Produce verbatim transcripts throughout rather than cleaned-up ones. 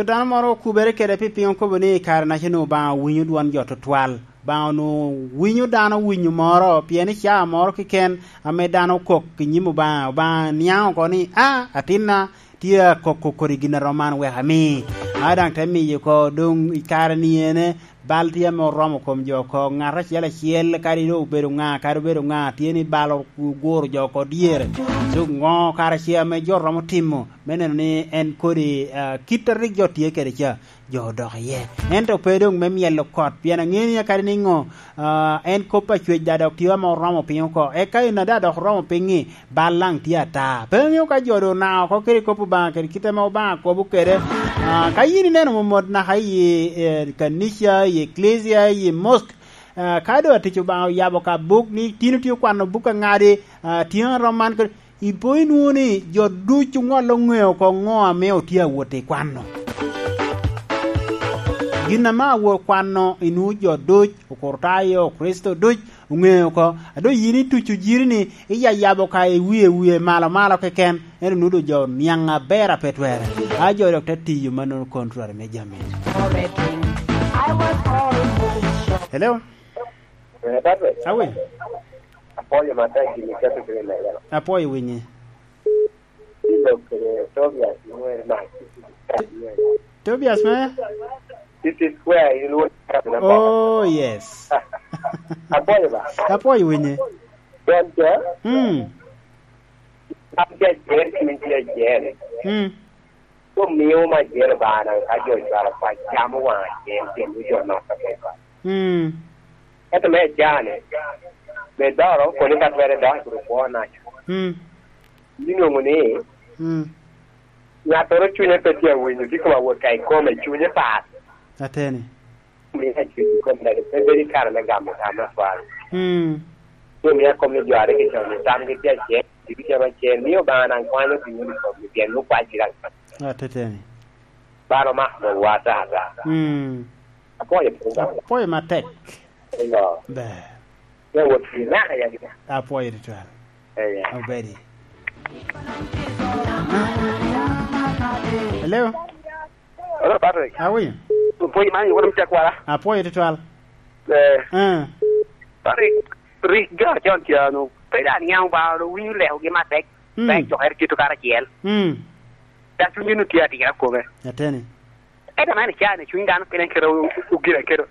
Dano moro okubere kede pi piny okobo ni i kare-naca onwoŋo Obaŋa owinyo dwon jo tutwal. Obaŋa onwoŋo winyo dano winyo moro, pien i caa moro keken ame dano okok i nyim Obaŋa, Obaŋa niaŋ oko ni, "A, atinna tye akoko kodi gin a rom man, wek ami." A daŋ te miyo oko, doŋ i kare-ni ene, bal tye ame oromo kom jo oko. Ŋat acel acel, kadi doŋ obedo ŋa, kadi obedo ŋa, tye ni bal oguro jo oko dyere. So, ŋo kara ce ame jo romo timo me neno ni en kodi, ah, kit a rik jo tye kede ca, jo odok iye? Ento pe doŋ me myelo kot, pien aŋeo ni akadi niŋo, ah, en kop a cwec daŋ dok tye ame oromo piny oko. Eka en a daŋ dok oromo piny-ŋi, bal daŋ tye ata. Pe aŋeo ka jo doŋ onao oko kede kop Obaŋa kede kit ame Obaŋa kobo kede. Ah, ka yin ineno momot naka i, eh, kanica, i eklesia, i mosk, ah, ka doŋ atic Obaŋa oyabo ka buk ni tin otye okwano buk aŋadi, ah, tyen a rom man kede, ipo inwoŋo ni jo ducu ŋolo ŋeo oko ŋo ame otye awot i kwano. Gin ame awot kwano inwoŋo jo duc, Okurtayo, Okricito duc, oŋeo oko. A doŋ yin ituco jiri-ni, iyayabo ka i wie wie malo malo keken, ento nwoŋo doŋ jo oniaŋ aber a pe twerre. A jo dok te tiyo mannono kontrari me jami. Hello? Eh, Patrick. Awi. Apwoyo matek gini keto kede lega. Apwoyo winyi. Ilo kede Tobias Nwer na. Tobias me? City Square, in Luo. Oh, yes. Apwoyo ba? Apwoyo winye. Don ca? Mm. An tye acel, in tye acel. Mm. Omio ma acel ba na ka jo cwalo pa camo wang acel, tyen jo nok ka pe ba. Mm. Ento me acane, me doro, koni ka twere dok, kuro kwo naco. Mm. Inwoŋo ni, mm, ŋattoro cunye pe tye awinyo, tye koma wot ka ikome, cunye pat. Ateni. Mio acwec i kom lega, pe bedo i kare me gamo tam atwal. Mm. Ci omio akop ni jo a rik ocamo tamgi tye acel, gin ocamo acel, mio Obaŋa daŋ kwanyo pi nyuto i komgi, pien nwoŋo kwacgi daŋ. Ateni. Balo mako dogwa ata ata. Mm. Apwoyo piny daŋ. Apwoyo matek. Eyo. Ber. Pe wot pi naka yagi. Apwoyo tutwal. Eyo. Obedi. Hello? Hello, Patrick. Awinyo. Pwony man, iwoto me cakwara. Apwoyo tutwal. Eh. Eh. Patrick, rik jo acon ca-nu, pe daŋ niaŋ Obaŋa, dok winyo lekogi matek. Mm. Pe cokere tito karacel. Mm. Dok cunygi nu tye atira kome. Ateni. Ento man icaa ni cuny dano kene kede o-, o-, ogire kede.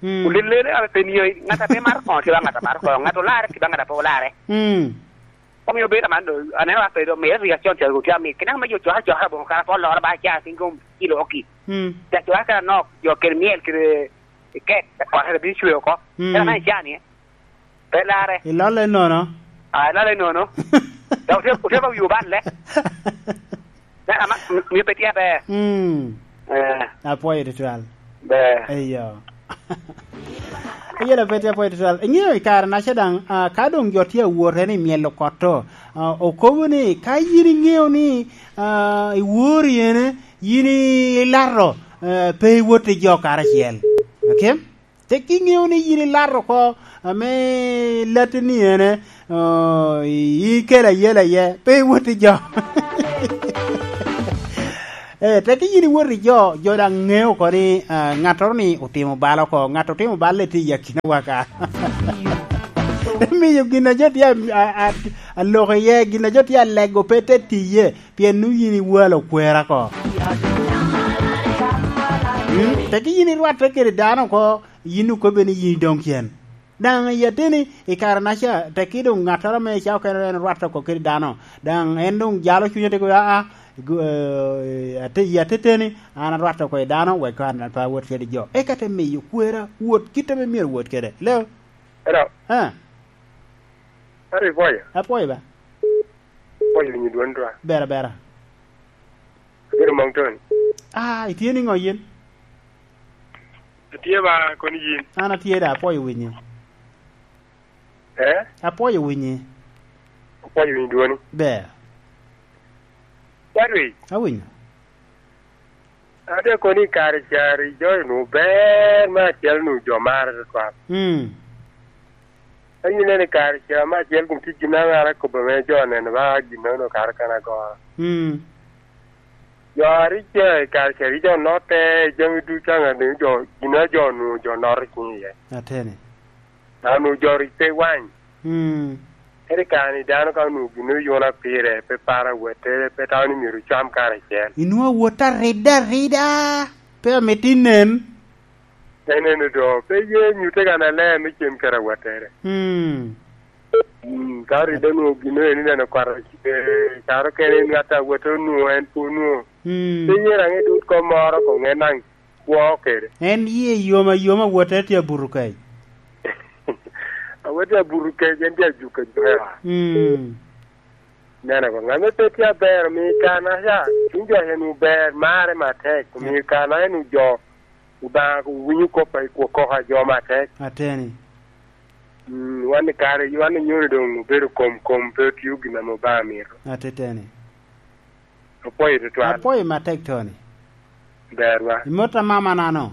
Mm. Olelele ame pe nio, ŋat a pe maro koŋo tye ba ŋat a maro koŋo, ŋat olarre tye ba ŋat a pe olarre. Mm. Omiyo bedo man do, aneno ka pe do, mere rik acon ca otye amit, kene ame jo coka coka boŋo kara pe oloro ba caa piny kom kilo oki. Mm. Ca coka kara nok, jo kede myel kede kek, kara bino cwe oko. Mm. Kara man icaa ni, pe larre. Ilolle nono. Ah, ilolle nono. Dok otye, otye ba wi oballe. Dano ama, m-, mio pe tye aber. Mm. Eh. Apwoyo tutwal. Ber. Eyo. Eyo, pe tye apwoyo tutwal. Iŋeo i kare-naca daŋ, ah, ka doŋ jo tye awot en i myelo kot to, ah, okobo ni, ka yin iŋeo ni, ah, iwori ene, yin ilato, eh, pe iwot i jo karacel. Okay? Tek iŋeo ni yin ilato oko, ame latti ni ene, oh, i-, ikelo ayela iye, pe iwot i jo. Eh, tek yin iwot i jo, jo daŋ ŋeo oko ni, ah, ŋattoro ni otimo bal oko, ŋat otimo bal tye i akinawa ka. Miyo gin a jo tye a, a, a, aloko iye, gin a jo tye alego pe te tiye, pien nwoŋo yin iwalo kwera oko. Mm, tek yin irwatte kede dano oko, yin okobbe ni yin idong cen. Daŋ i ateni, i kare-naca, tekki doŋ ŋattoro ame i cawa okene en rwatte oko kede dano, daŋ en doŋ jalo cunye te kobo, "Aa, gu-, eh, ate-, i ateteni, an arwatte oko i dano, wek an pe awot kede jo." Eka te miyo kwera wot kit ame myero wot kede. Leo? Hello. Ah. Hello, Ipoya. Apwoyo ba. Apwoyo winyo dwon twa. Bera, bera. Abedo Mount Tony. Ah, itye niŋo yin? Atye ba, koni yin? An atye da, apwoyo winyi. Eh? Apwoyo winyi. Apwoyo winyo dwoni. Ber. Patrick. Awinyo. Ate koni i kare cari jo nu ber me acel nu jo mare tutwal. Mm. Ka yin ineno i kare ca me acel kun tye gin ame an akobo ame jo oneno ba gin meno kara kan agoro. Mm. Jo a rik tye i kare ca rik jo notte, jami ducu a ŋat jo, gin a jo onwoŋo jo notte i ciŋ iye. Ateni. Dok onwoŋo jo rik pe wany. Mm. Ento i kare-ni dano ka onwoŋo gin oyuna pire, pe paro awottere, pe tamo ni myero ocam karacel. Inwoŋo awot arida arida, pe amito inen. En eno do, pe ye nyutte kan aler me cem kede awottere. Mm. Mm, ka ride onwoŋo gin eno ineno kwaro, eh, caro kene ŋat a wot onwoŋo en pe onwoŋo. Mm. Pe ye raŋ idut kom moro koŋ en daŋ kwo kede. En ye yom ayoma, wote tye abuto kec. Awot tye abuto kec, en tye ajuko ajuka. Mm. Neno ko, ŋat me pe tye aber, omiyo i kare-naca, cuny jo en ober, marre matek, omiyo i kare-naca en ojo, Obaŋa owinyo kop a i kwo koko a jo matek. Ateni. Mm, wan i kare, wan i nyoni doŋ obedo kom kom, pe otio gin ame Obaŋa mito. Ateteni. Apwoyo tutwal. Apwoyo matek, Tony. Berwa. Imot a mama nano?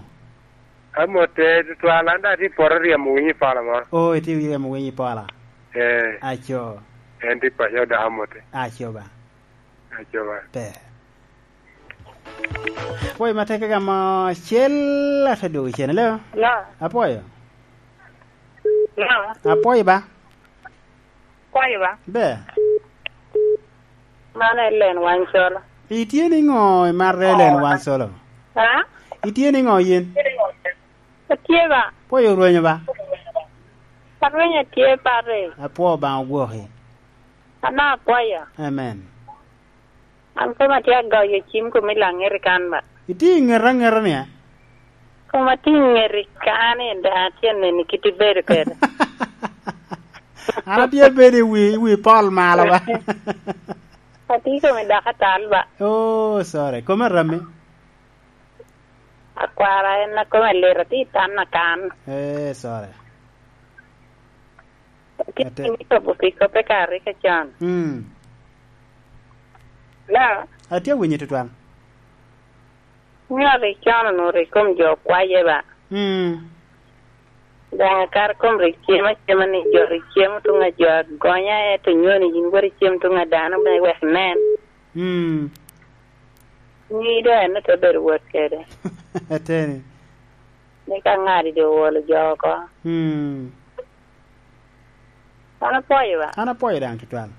Amotte tutwal, an daŋ atye i poto ryemo winyo i pola moro. Oh, itye ryemo winyo i pola? Eh. Aco. En tye paco dok amotte. Aco ba. Aco ba. Ber. Apwoyo matek gamo acel, ate dwogo cen, hello? Hello? Apwoyo. Hello? Apwoyo ba. Kwayo ba. Ber. Man Ellen Wancolo. Itye niŋo imarre, Ellen Wancolo? Ha? Itye niŋo yin? Atye ba. Pwoyo orwenyo ba? Arwenyo atye, pare. Apwoo Obaŋa ogwoki. Ana apwoyo. Amen. An koma tye agoyo cim kom i laŋet i kan ba. Itye i ŋeta ŋeta ni, eh? Koma tye i ŋet i kan, en daŋ atye neni kit ibedo kede. An atye abedo i wi, i wi pol malo ba. Atye kome dok atal ba. Oh, sorry. Kome rami? Akwara en a kome lit, atye i tan akan. Eh, sorry. Ate- Atye i kobo pi koppe ka rik acon. Mm. La. Atye awinyo tutwal. Ŋeo rik con onwoŋo rik kom jo kwaye ba. Mm. Daŋ akar kom rik cem acema ni jo rik cem tuŋ a jo agonya, eto nyoni yin wot icem tuŋ a dano me wek nen. Mm. Nyi doŋ en te bedo wot kede. Ateni. Ni ka ŋadi doŋ owolo jo oko. Mm. An apwoyo ba. An apwoyo daŋ tutwal.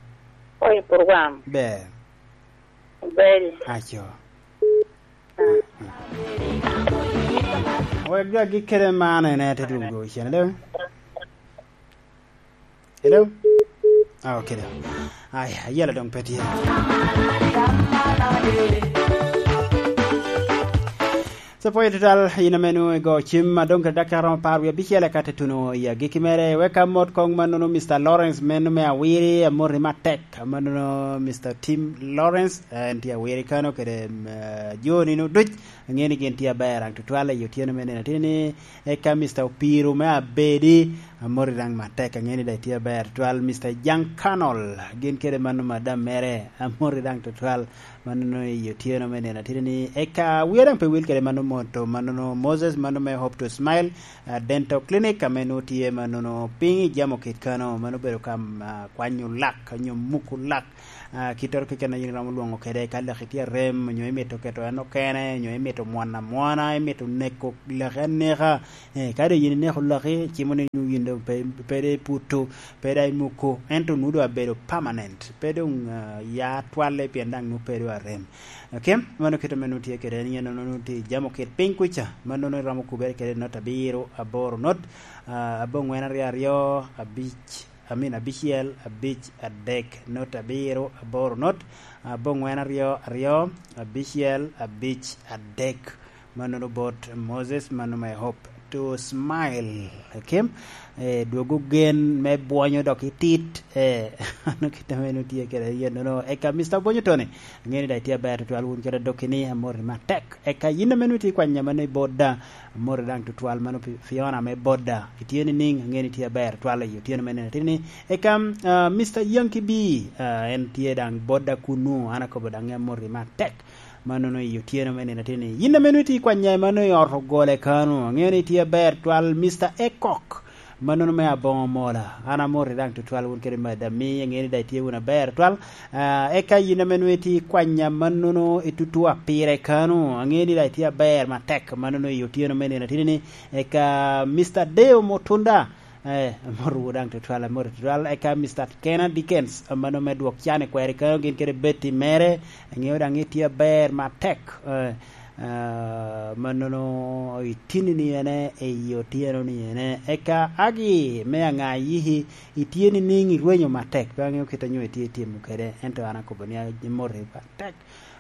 Pwoyo program. Ber. Ber. Aco. Wek jo agik kede man en ete dwogo cen, hello? Hello? Ah, okay, da. Ai, ayela doŋ pe tye. So, pwoyo tutwal, in ame nwoŋo igo cim, a doŋ kede dakika romo apar wie abicel, eka te tuno i agikki mere. Wek amot koŋ mannono Mister Lawrence, meno me Awiri, amoti matek. Mannono Mister Tim Lawrence, en tye Awiri kano kede, mm, eh, jo nino duc. Aŋeo ni gin tye aber daŋ tutwal i otyeno me nino ateni. Eka Mister Opiro me Abedi, amoti daŋ matek, aŋeo ni daŋ itye aber tutwal. Mister Jan Kanol, gin kede mano madam mere, amoti daŋ tutwal. Mannono i otyeno me nino ateni ni, eka wiya daŋ pe wil kede mano moto, mannono Moses, mano me Hope to Smile, ah, Dental Clinic, ame nwoŋo tye mannono piny i Jamo Kit kano, mano obedo ka, ah, kwanyo lak, nyo muko lak. Ah, kittoro keken a yin iromo lwoŋo kede, ka laki tye arem, onyo imito keto en okene, onyo imito mwono amwona, imito neko laki aneka. Eh, ka doŋ yin ineko laki, cimo ni nwoŋo yin doŋ pe, pe doŋ iputo, pe doŋ imuko, ento nwoŋo doŋ abedo permanent, pe doŋ, ah, ya twalle pien daŋ nwoŋo pe doŋ arem. Ok, mano kit ame nwoŋo tye kede, en yen nwoŋo tye i Jamo Kit piny kuca, ma nwoŋo iromo kubere kede not abiro aboro not, ah, abongwen aryo aryo, abic, amin, abicel, abic, adek, not abiro, aboro, not, abongwen, aryo, aryo, abicel, abic, adek. Mannono bot Moses, mano me Hope to Smile. Kim, eh, dwogo gen me bwonyo dok itit, eh, ano kit ame nwoŋo tye kede yen nono. Eka Mister Bwonyo Tony, aŋeo ni daŋ itye aber tutwal wun kede adokki ni, amoti matek. Eka yin ame nwoŋo itye kwanya mano i Boda, amoti daŋ tutwal mano pi-, Fiona me Boda. Itye niŋ? Aŋeo ni itye aber twal i otyeno me nino ateni. Eka, ah, Mister Yankee B, ah, en tye daŋ Boda kunu, an akobo daŋ amoti matek. Mannono i otyeno me nino ateni. Yin ame nwoŋo itye kwanya mano i ot ogole kano, aŋeo ni itye aber twal. Mister Ekok, Mannono me aboŋo mola, an amoti daŋ tutwal wun kede mada mi, aŋeo ni daŋ itye wunu aber twal. Ah, eka yin ame nwoŋo itye kwanya mannono i tutua pire kano, aŋeo ni daŋ itye aber matek mannono i otyeno me nino atini ni. Eka Mister Deo Mutunda, eh, amotowu daŋ tutwal, amoti tutwal. Eka Mister Kena Dickens, mano me dwok can i kweri kano, gin kede Betty mere, aŋeo daŋ itye aber matek. Eh, ah, mannono itini ni ene, i otyeno ni ene. Eka Agi me aŋa yiki, itye ni niŋ irwenyo matek, pe aŋeo kit a nyo itye itimo kede, ento an akobo ni amoti matek.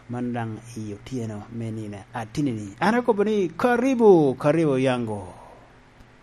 Man daŋ i otyeno me nino atini ni. An akobo ni, "Karibu, karibu yango."